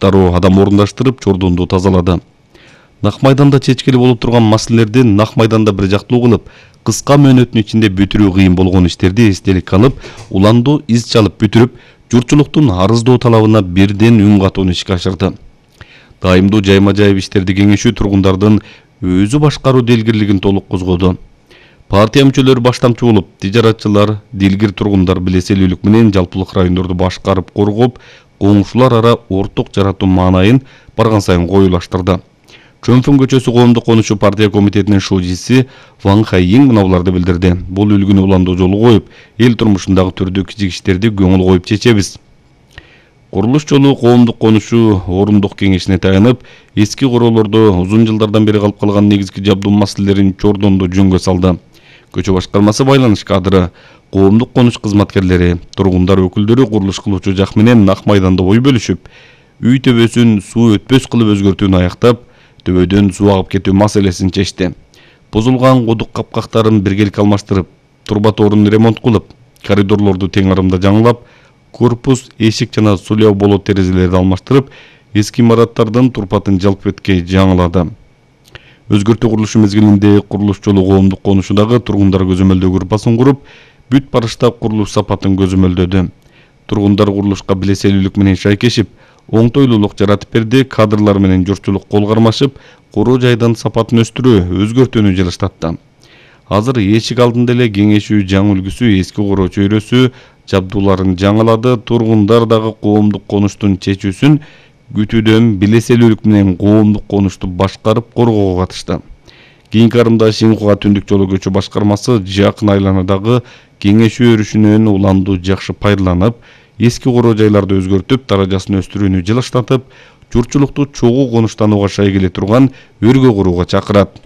Дароо адам орундаштырып чордонду тазалады. Нак майданда чечкили болуп турган маселелерди нак майданда бир жактуу кылып, кыска мөөнөттүн ичинде бүтүрүү кыйын болгон иштерди эстеликке алып, уланду из чалып бүтүрүп, журтчулуктун арыздоо талабына бирден үн катууну ишке ашырды. Дайымдуу жайма-жайып иштерди кеңешүү тургундардын өзү башкаруу делгирлигин толук козгоду. Партия мүчөлөрү баштамчы болуп, тижаратчылар, дилгир тургундар билеселүүлүк менен жалпылык райондорду башкарып коргоп, коңшулар ара орток жаратуу маанайын барган сайын коюлаштырды. Чөнфүн көчөсү коомдук конушу партия комитетинин шужиси Ван Хайин мына буларды билдирди. Бул үлгүнү уландуу жолу коюп, эл турмушундагы түрдүү кичик иштерди көңүл коюп чечебиз. Курулуш жолу коомдук конушу орундук кеңешине таянып, эски короолордо узун жылдардан бери калып калган негизги жабдуу маселелерин чордондо жөнгө салды. Көчө башкармасы байланыш кадры, коомдук конуш кызматкерлери, тургундар өкүлдөрү курулуш кылуучу жак менен нак майданда ой бөлүшүп, үй төбөсүн суу өтпөс кылып өзгөртүүнү аяктап, төбөдөн суу агып кетүү маселесин чечти. Бузулган кудук капкактарын биргеликке алмаштырып, турба тоорун ремонт кылып, коридорлорду тең арымда жаңылап, корпус, эшик жана суляу болот терезелерди алмаштырып, эски имараттардын турпатын жалпетке жаңылады. Өзгөртүү курулушу мезгилинде курулуш жолу коомдук конушудагы тургундар көзөмөлдөө группасын куруп, бүт барышта курулуш сапатын көзөмөлдөдү. Тургундар курулушка билеселүүлүк менен шайкешип, оңтойлуулук жаратып берди, кадрлар менен журтчулук кол кармашып, короо жайдын сапатын өстүрүү, өзгөртүүнү жылыштатты. Азыр эшик алдында эле кеңешүү жаңы үлгүсү, эски короо чөйрөсү, жабдууларын жаңылады, тургундар дагы коомдук конуштун чечүүсүн күтүүдөн билеселүүлүк менен коомдук конушту башкарып коргоого катышты. Кийинки арымда Шинхуа түндүк жолу көчө башкармасы жакын айланадагы кеңешүү өрүшүнөн уланду жакшы пайдаланып, эски короо жайларды өзгөртүп, даражасын өстүрүүнү жылыштатып, журтчулукту чогуу конуштанууга шай келе турган өргө курууга чакырат.